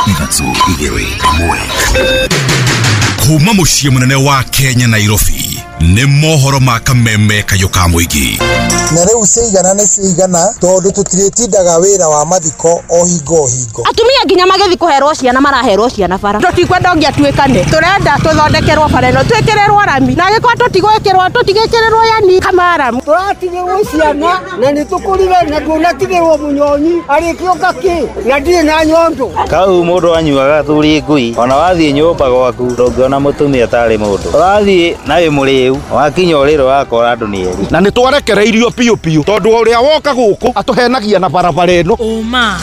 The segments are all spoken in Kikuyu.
3 2 1. Kuma mũciĩ mũnene wa Kenya Nairobi nĩ mohoro ma kameme kayũ ka mũingĩ. Na rĩu ciigana nĩ ciigana tondũ tũtirĩtindaga wĩra wa mathiko o hingo o hingo. Atumia nginya magĩthiĩ kũherwo ciana maraherwo ciana bara. Tũtikwenda ũngĩatuĩkane, tũrenda tũthondekerwo bara ĩno, twĩkĩrĩrwo rami, na angĩkorwo tũtigwĩkĩrwo tũtigĩkĩrĩrwo yani kamaramu. Tũratigĩrwo ciana na nĩ tũkũrire na ndũnatigĩrwo mũnyonyi arĩkĩũka kĩ na ndirĩ na nyondo. Kau mũndũ anyuaga thuri ngui ona wathiĩ nyũmba gwaku ndũngĩona mũtumia tarĩ mũndũ. Ũrathiĩ na wĩ mũrĩu wakinya ũrĩrĩ wakora andũ nĩ erĩ. Na nĩ twarekereirio piũ piũ tondũ ũrĩa woka gũkũ atũhenagia na barabara ĩno. Ũma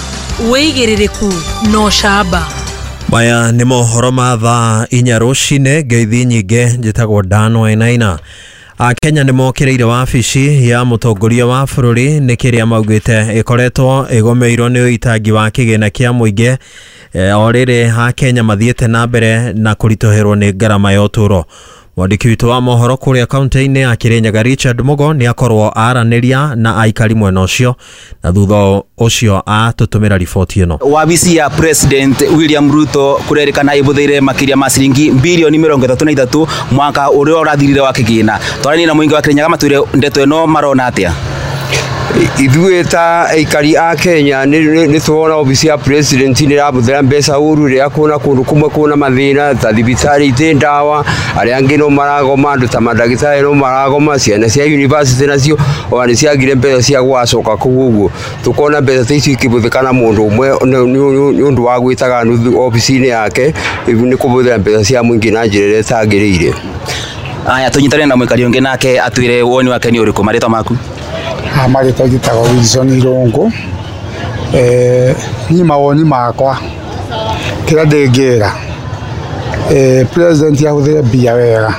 wĩigĩrĩrĩku no camba. Maya nĩ mohoro ma thaa 4 rũcinĩ. Ngeithi nyingĩ, njĩtagwo Dan Wainaina. Akenya nĩ mokĩrĩire wabici ya mũtongoria wa bũrũri nĩ kĩrĩa maugĩte ĩkoretwo ĩgomeirwo nĩ ũitangi wa kĩgĩna kĩa mũingĩ o rĩrĩ Akenya mathiĩte na mbere na kũritũhĩrwo nĩ ngarama ya ũtũũro. Mwandĩki witũ wa mohoro kũrĩa kaunti-inĩ ya Kirinyaga Richard Mugo nĩ akorwo aranĩria na aikari mwena ũcio na thutha ũcio atũtũmĩra riboti ĩno. Wabici ya President William Ruto kũrerĩkana ĩbũthĩire makĩria ma ciringi bilioni 33 mwaka ũrĩa ũrathirire wa kĩgĩna. Twaranie na mũingĩ wa Kirinyaga matwĩre ndeto ĩno marona atĩa. Ithuĩ ta aikari a Kenya nĩ tuona obici ya president nĩ ĩrabũthĩra mbeca ũru rĩrĩa kwĩna kũndũ kũmwe kwĩna mathĩna ta thibitarĩ itĩ ndawa, arĩa angĩ no maragoma, andũ ta mandagĩtarĩ no maragoma, ciana cia university nacio ona nĩ ciagire mbeca cia gũgacoka kũu ũguo. Tũkona mbeca ta icio ikĩbũthĩka na mũndũ ũmwe nĩ ũndũ wa gwĩtaga nuthu obici-inĩ yake nĩ kũbũthĩra mbeca cia mũingĩ na njĩra ĩrĩa ĩtagĩrĩire. Aya, tũnyitane na mũikari ũngĩ nake atwĩre woni wake nĩ ũrĩkũ. Marĩtwa maku? Marĩtwa njĩtagwo Wilson Irũngũ. Niĩ mawoni makwa kĩrĩa ndĩngĩra president ahũthĩre mbia wega,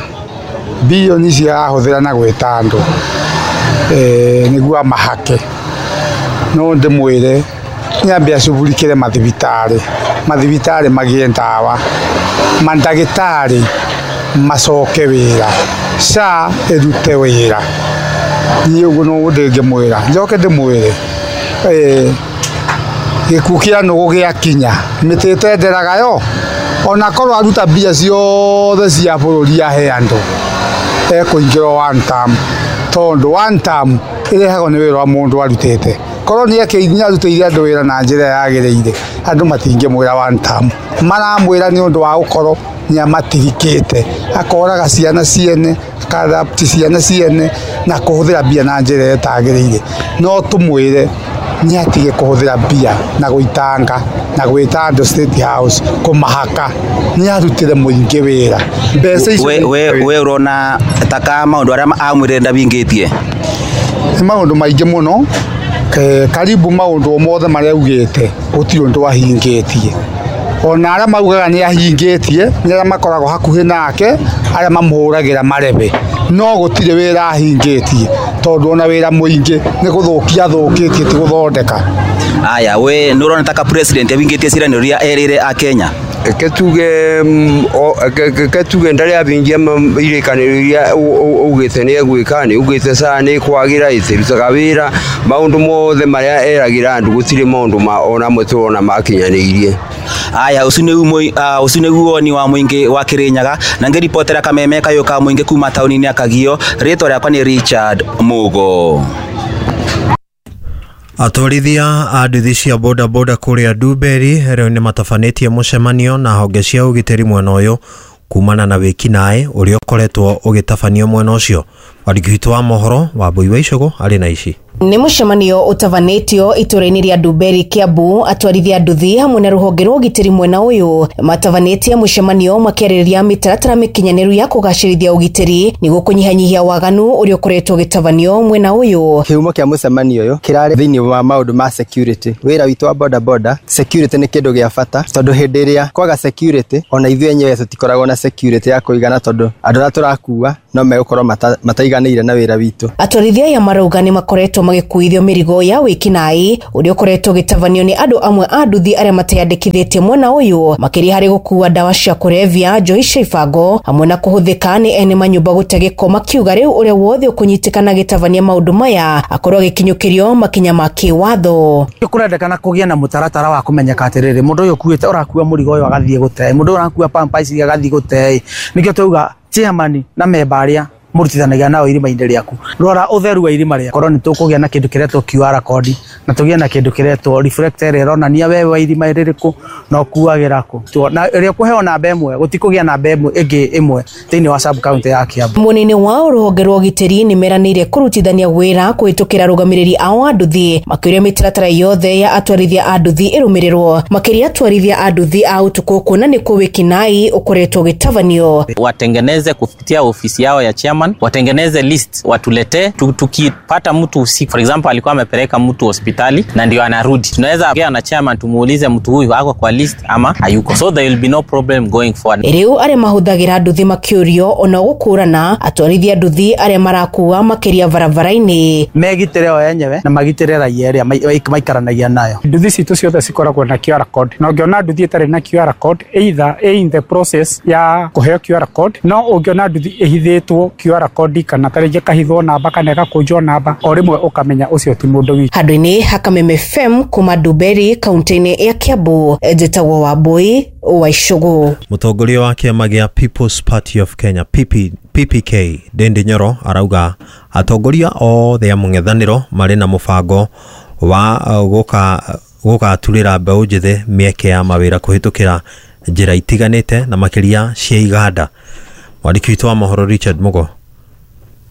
bilioni ici arahũthĩra na gwĩta andũ nĩguo amahake. No ndĩmwĩre nĩambe acugurikĩre mathibitarĩ, mathibitarĩ magĩe ndawa, mandagĩtarĩ macoke wĩra, SHA ĩrute wĩra. Niĩ ũguo no ndĩngĩmwĩra. Njoke ndĩmwĩre gĩkuũ kĩa nũgũ gĩakinya mĩtĩ ĩtenderaga yo, ona korwo aruta mbia ciothe cia bũrũri ahe andũ ekũingĩrwo one term, tondũ one term ĩrehagwo nĩ wĩra wa mũndũ arutĩte. Korwo nĩ arutĩire andũ wĩra na njĩra yagĩrĩire, andũ matingĩmwĩra one term. Maramwĩra nĩ ũndũ wa gũkorwo nĩ amatirikĩte, akoraga ciana ciene, akarapti ciana ciene na kũhũthĩra mbia na njĩra ĩtagĩrĩire. No tũmwĩre nĩ atige kũhũthĩra mbia na gũitanga na gwĩta andũ State House kũmahaka, nĩ arutĩre mũingĩ wĩra. Mbeca icio we ũrona taka maũndũ arĩa amwĩrire ndabingĩtie? Nĩ maũndũ maingĩ mũno, karibu maũndũ mothe marĩa augĩte gũtirĩ ũndũ ahingĩtie. Ona arĩa maugaga nĩ ahingĩtie nĩ arĩa makoragwo hakuhĩ nake, arĩa mamũhũragĩra marebe, no gũtirĩ wĩra ahingĩtie tondũ ona wĩra mũingĩ nĩ gũthũkia athũkĩtie ti gũthondeka. Aya, we nĩ ũrona taka president ahingĩtie ciĩranĩro iria erĩire Akenya? Reke tuge ndarĩ abingia irĩkanĩro iria augĩte nĩ egwĩka, nĩ augĩte SHA nĩ ĩkwagĩra, ĩtirutaga wĩra, maũndũ mothe marĩa eragĩra andũ gũtirĩ maũndũ ona amwe tũrona makinyanĩirie. Aya, ũcio nĩguo woni wa mũingĩ wa Kirinyaga na ngĩribotera kameme kayũ ka mũingĩ kuma taũni-inĩ ya Kagio. Rĩtwa rĩakwa nĩ Richard Mugo. Atwarithia a nduthi cia boda boda kũrĩa Ndumberi rĩu nĩ matabanĩtie mũcemanio na honge cia ũgitĩri mwena ũyũ kumana na wĩkinaĩ ũrĩa ũkoretwo ũgĩtabanio mwena ũcio. Mwandĩki witũ wa mohoro Wambui wa Icũgũ arĩ na ici. Nĩ mũcemanio ũtabanĩtio itũũra-inĩ rĩa Ndumberi Kiambu. Atwarithia nduthi hamwe na rũhonge rwa ũgitĩri mwena ũyũ matabanĩtie mũcemanio makĩarĩrĩria mĩtaratara mĩkinyanĩru ya kũgacĩrithia ũgitĩri nĩguo kũnyihanyihia waganu ũrĩa ũkoretwo ũgĩtabanio mwena ũyũ. Kĩhumo kĩa mũcemanio ũyũ kĩrarĩ thĩinĩ wa maũndũ ma security. Wĩra witũ wa boda boda, security nĩ kĩndũ gĩa bata tondũ hĩndĩ ĩrĩa kwaga security ona ithuĩ enyewe tũtikoragwo na security ya kũigana tondũ andũ arĩa tũrakua no megũkorwo mataiganĩire na wĩra witũ. Atwarithia aya marauga nĩ makoretwo magĩkuithio mĩrigo ya wĩkinaĩ ũrĩa ũkoretwo ũgĩtabanio nĩ andũ amwe a nduthi arĩa mateyandĩkithĩtie mwena ũyũ, makĩria harĩ gũkua ndawa cia kũrebia, njohi cia ibango hamwe na kũhũthĩka nĩ ene manyũmba gũte gĩko, makiuga rĩu ũrĩa wothe ũkũnyitĩkana agĩtabania maũndũ maya akorwo agĩkinyũkĩrio makinya ma kĩwatho. Kũrendekana kũgĩe na mũtaratara wa kũmenyeka atĩrĩrĩ, mũndũ ũyũ ũkuĩte ũrakua mũrigo ũyũ agathiĩ gũte, mũndũ ũyũ ũrakua pampa ici agathiĩ gũte. Nĩkĩo twauga chairman na memba arĩa mũrutithanagia nao irima-inĩ rĩaku, rora ũtheru wa irima rĩaku. Korwo nĩ tũkũgĩa na kĩndũ kĩretwo QR code na tũgĩe na kĩndũ kĩretwo reflector ĩrĩa ĩronania wewe wa irima rĩrĩkũ na ũkuagĩra kũ, na ĩrĩa ũkũheo namba ĩmwe gũtikũgĩa namba ĩmwe ĩngĩ ĩmwe thĩinĩ wa sub county ya Kiambu. Mwena-inĩ wao rũhonge rwa ũgitĩri nĩ meranĩire kũrutithania wĩra kũhĩtũkĩra arũgamĩrĩri ao a nduthi, makĩũria mĩtaratara yothe ya atwarithia a nduthi ĩrũmĩrĩrwo, makĩria atwarithia a nduthi a ũtukũ kuona nĩkuo wĩkinaĩ ũkoretwo ũgĩtabanio. Watengeneze kupitia ofisi yao ya chairman, watengeneze list watuletee. Tukipata mtu usiku, for example alikuwa amepeleka mtu hospitali na ndio anarudi, tunaweza ongea na chairman tumuulize mtu huyu ako kwa list ama hayuko, so there will be no problem going forward. Rĩu arĩa mahũthagĩra nduthi makĩũrio ona gũkũrana atwarithia nduthi arĩa marakua makĩria barabara-inĩ megitĩre o enyewe na magitĩre raia ĩrĩa maikaranagia nayo. Nduthi citũ ciothe cikoragwo na QR code, na ũngĩona nduthi ĩtarĩ na QR code either in the process ya kũheo QR code, no ũngĩona nduthi ĩhithĩtwo QR code kana tarĩngĩ kahithwo namba kana ĩgakũnjwo namba, o rĩmwe ũkamenya ũcio ti mũndũ witũ. Handũ-inĩ ha Kameme FM kuma Nduberi kaunti-inĩ ya Kiambu, njĩtagwo Wambui wa Icũgũ. Mũtongoria wa kĩama gĩa People's Party of Kenya PPK Ndindi Nyoro arauga atongoria othe a mũng'ethanĩro marĩ na mũbango wa gũgaturĩra mbeũ njĩthĩ mĩeke ya mawĩra kũhĩtũkĩra njĩra itiganĩte na makĩria cia iganda. Mwandĩki witũ wa mohoro Richard Mugo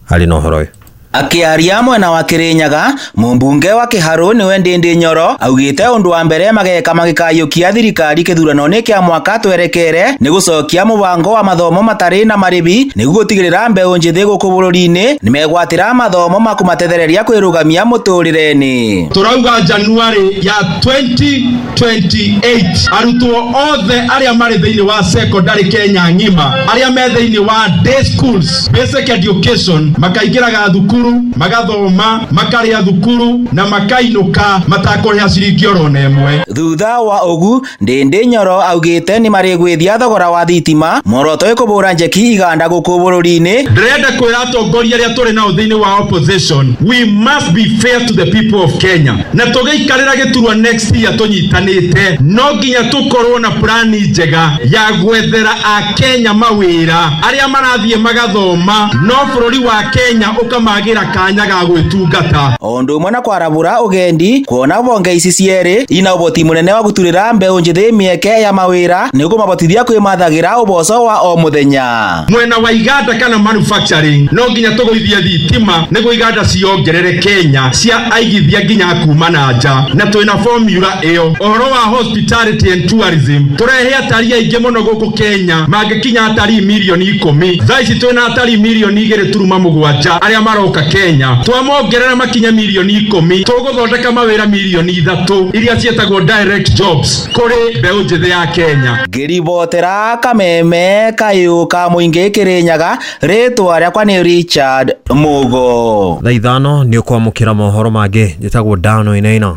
arĩ na ũhoro ũyũ. Akiaria mwena wa Kirinyaga, mumbunge wa Kiharu niwe Ndindi Nyoro augite undu wa mbere mageka magikayukia thirikari kithurano-ini kia mwaka twerekere ni gucokia mubango wa mathomo matari na maribi niguo gutigirira mbeu njithi guku bururi-ini nimegwatira mathomo makumatethereria kwirugamia muturire-ini. Turauga January ya 2028 arutwo othe aria mari thiini wa secondary Kenya ng'ima aria me thiini wa day schools basic education makaingiraga thukuru magathoma makaria thukuru na makainuka matakũrĩha ciringi oro na ĩmwe. Thutha wa ũgu Ndindi Nyoro augĩte nĩ marĩgwĩthia thogora wa thitima muoroto ĩkũbũra njeki iganda gũkũ bũrũri-inĩ. Ndĩrenda kwĩra atongoria arĩa tũrĩ nao thĩinĩ wa opposition, we must be fair to the people of Kenya, na tũgĩikarĩra gĩturwa next year tũnyitanĩte no nginya tũkorwo na plani njega ya gwethera akenya mawĩra arĩa marathiĩ magathoma no bũrũri wa Kenya ũkamagira kanya ga gwĩtungata. Undu umwe na kwarabura ugendi kuona bonge ici cierĩ ina ũboti mũnene wa gũturĩra mbeũ njĩthĩ mĩeke ya mawĩra nĩ kũmabotithia kwĩmathagĩra ũboco wa o mũthenya. Mwena wa iganda kana manufacturing no nginya tũgũithie thitima nĩguo iganda ciongerere Kenya cia aigithia nginya kuma na nja, na twĩna formula ĩyo. Ũhoro wa hospitality and tourism tũrehe atarii aingĩ mũno gũkũ Kenya mangĩkinya atarii mirioni 10. Thaa ici twĩna atarii mirioni 2.7 arĩa maroka Kenya, twamongerera makinya mirioni 10 tũgũthondeka mawĩra mirioni 3 iria ciĩtagwo direct jobs kũrĩ mbeũ njĩthĩ ya Kenya. Ngĩribotera Kameme kayũ ka mũingĩ Kĩrĩnyaga, rĩtwa rĩakwa nĩ Richard Mugo. Thaa 5 nĩ ũkwamũkĩra mohoro mangĩ. Njĩtagwo Dano Inaina.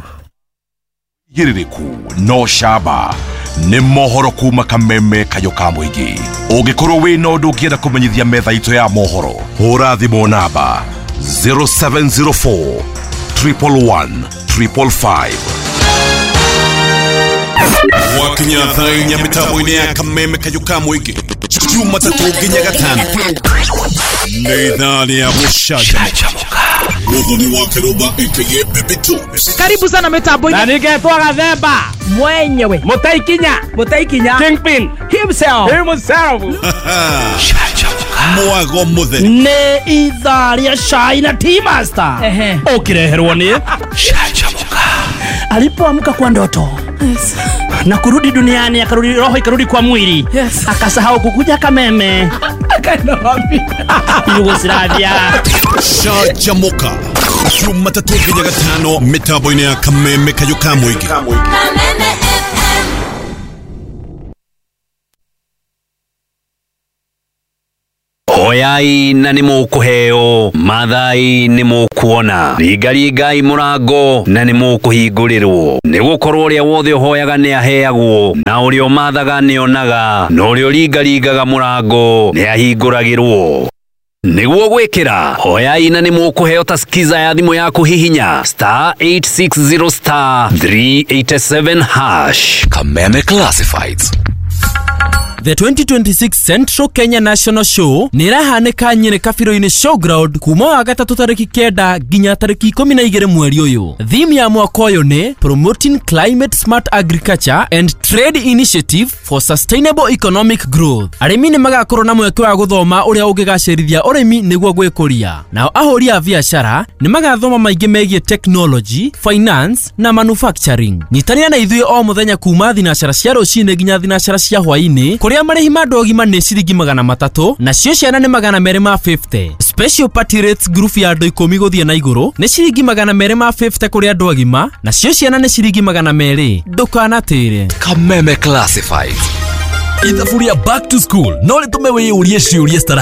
Gĩrĩrĩku no camba nĩ mohoro kuma Kameme kayũ ka mũingĩ. Ũngĩkorwo wĩna ũndũ ũngĩenda kũmenyithia metha itũ ya mohoro, hũra thimũ namba 0704 111 555. Wakinya thaa inya mĩtambo-inĩ ya Kameme kayũ ka mũingĩ Jumatatũ nginya Gatano nĩ ithaa rĩa gũcanjamũka. Muthoni wa Kiruba aka Baby Tubes. Karibu sana mitambo-inĩ. Na ningetwa Gathemba mwenyewe Mutaikinya Kingpin himself. Mwago mutheri nĩ ithaa rĩa cai na tea master ũkĩreherwo nĩ Canjamũka. Alipoamka kwa ndoto, yes, na kurudi duniani, akarudi roho ikarudi kwa mwili, yes, akasahau kukuja Kameme akaenda wapi? Yugoslavia. Canjamũka Jumatatũ nginya Gatano mĩtambo-inĩ ya Kameme kayũ ka mũingĩ. Kameme FM. Hoyai na nĩ mũkũheo, mathai nĩ mũkuona, ringaringai mũrango na nĩ mũkũhingũrĩrwo. Nĩ gũkorwo ũrĩa wothe ũhoyaga nĩ aheagwo, na ũrĩa ũmathaga nĩ onaga, na ũrĩa ũringaringaga mũrango nĩ ahingũragĩrwo. Nĩguo gwĩkĩra hoyai na nĩ mũkũheo ta skiza ya thimũ yaku hihinya star 860 star 387 hash. Kameme Classifieds. The 2026 Central Kenya National Show nĩ ĩrahanĩka Nyĩrĩ Kabiro-inĩ Showground kuma wa gatatũ tarĩki 9 nginya tarĩki 12 mweri ũyũ. Theme ya mwaka ũyũ nĩ Promoting Climate Smart Agriculture and Trade Initiative for Sustainable Economic Growth. Arĩmi nĩ magakorwo na mweke wa gũthoma ũrĩa ũngĩgacĩrithia ũrĩmi nĩguo gwĩkũria. Nao ahũri a biacara nĩ magathoma maingĩ megiĩ technology, finance na manufacturing. Nyitanĩra na ithuĩ o mũthenya kuma thinacara cia rũcinĩ nginya thinacara cia hwaĩ-inĩ kũrĩa marĩhi ma andũ agima nĩ ciringi 300 nacio ciana nĩ 250. Special party rates group ya andũ 10 gũthiĩ na igũrũ nĩ ciringi 250 kũrĩ andũ agima nacio ciana nĩ ciringi 200. Ndũkanatĩre. Kameme Classifieds. Ithabu rĩa back to school no rĩtũme wĩyũrie ciũria citara